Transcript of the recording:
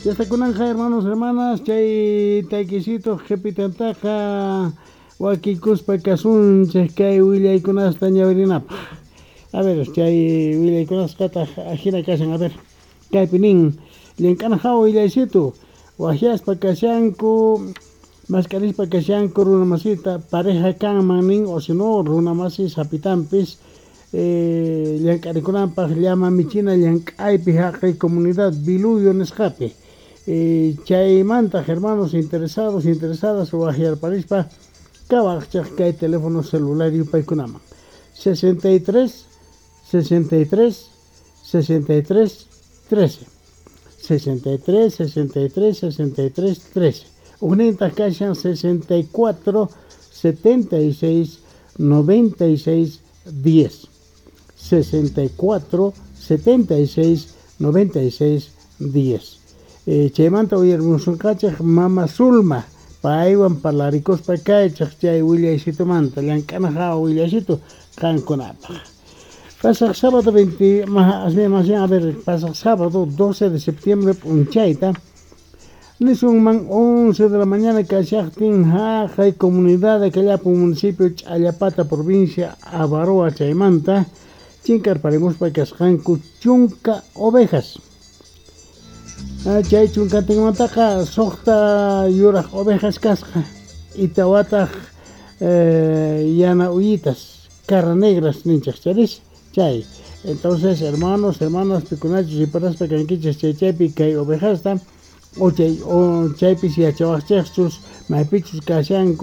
Ya kunanqa, hermanos, hermanas, chay taykisito qhipitantaqa wakikuspa kasunchik kay willaykunasta ñawirinapaq. A ver, chay willaykunasqataq ajina kashan. A ver, kaypi nin: llank'ana hawa willaysitu, waqyaspa kashanku, mask'arispa kashanku runa masita, pareja kanman nin, o si no runa masi sapitanpis llank'arikunanpaq llama michina llank'aypi haqay comunidad Biluyo nisqapi. Chaymantaq, hermanos interesados, interesadas, waqyarparispa kawaqchaq kay teléfono celular yupaykunaman: 63 63 63 13, 63 63 63 13. Ujnintaq kashan 64 76 96 10, 64 76 96 10. Chaymanta uyarimusunqachik mama Zulma, paywan parlarikuspa kaychaq chay willaysitumanta, llank'ana hawa willaysitu qankunapaq. Pasaq sábado 20, más bien, a ver, pasaq sábado 12 de septiembre p'unchayta, nisunman 11 de la mañana kashaqtin, haqay comunidad de Callapo, municipio Challapata, provincia Abaroa, chaymanta chinkarparimuspa kasqanku 10 ovejas. Chay chunkantinmantaqa 6 yuraq ovejas kasqa y 4taq yana uyitas, cara negras ninchik charis chay. Entonces, hermanos, hermanas, pikunachus riparaspa kankichis chay chaypi kay ovejasta o chay o chaypis yachawaqchikchus maypichus kashanku.